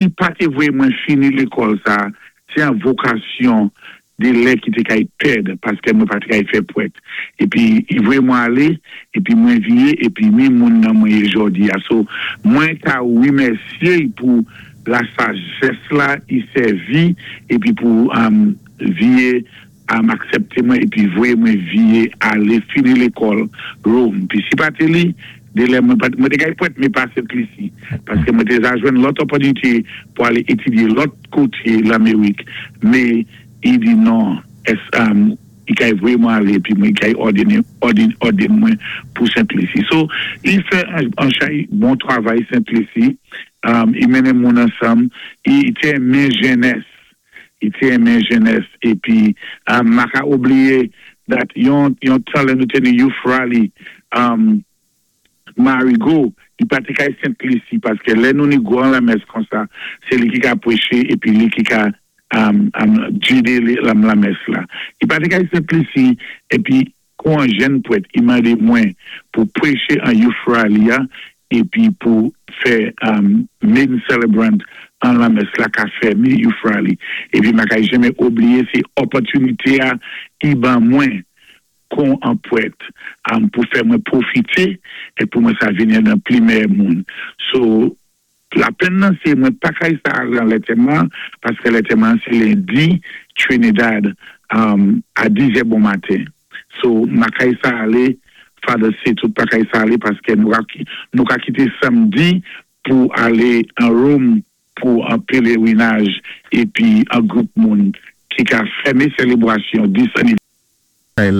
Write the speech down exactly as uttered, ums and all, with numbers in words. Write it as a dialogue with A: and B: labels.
A: Pa té voyé mwen fini lékòl sa, sé an vokasyon dé lè ki té kay pèd, paské mwen pa té kay fè pwèt. Épi, i voyé mwen alé, épi mwen viyé, épi mi moun nan mwen yé jòdi a. So, mwen ka wimèsyé pou la sajès la, i sèvi, épi pou um, viyé am aksépté mwen, épi voyé mwen viyé alé fini lékòl Rome. Pi si pa té li, dé lè mwen, mwen té kay pwèt, mé pa Sent Lisi. Paské mwen té za jwenn lòt opòtinité pou alé étidyé lòt koté Lamérik. Mé, i di non, ès, um, i kay voyé mwen alé, épi mwen kay òdéné, òdéné, òdéné mwen pou Sent Lisi. So, i fè an, an chay bon travay Sent Lisi, um, i mennen moun ansanm, i té renmen jènès, i té renmen jènès, épi, um, ma ka oubliyé that yon, yon tan lè nou té ni youth rally, um, Marigot, i pa té kay Sent Lisi, paské lè nou ni gwan lamès kon sa, sé li ki ka pwéché, épi li ki ka um, um, gidé lam lamès la. I pa té kay Sent Lisi, épi kon an jèn pwèt, i mandé mwen pou pwéché an youth rally a, épi pou fè um, main celebrant an lamès la ka fèmé youth rally. Épi ma kay janmé oubliyé sé opòtinité a i ban mwen kon an pwèt um, pou fè mwen pwofité é pou mwen sa vini nan pli mèyè moun. So, la penn nan sé mwen pa kay sa lan lantèman, paské lantèman sé lendi Trinidad um, a dizè bon maten. So, ma kay sa alé, Father sé tout pa kay sa alé, paské nou ka, nou ka kité samdi pou alé an Rome pou an pèlwinaj épi an gwoup moun ki ka fèmé sélébrasyon dis
B: La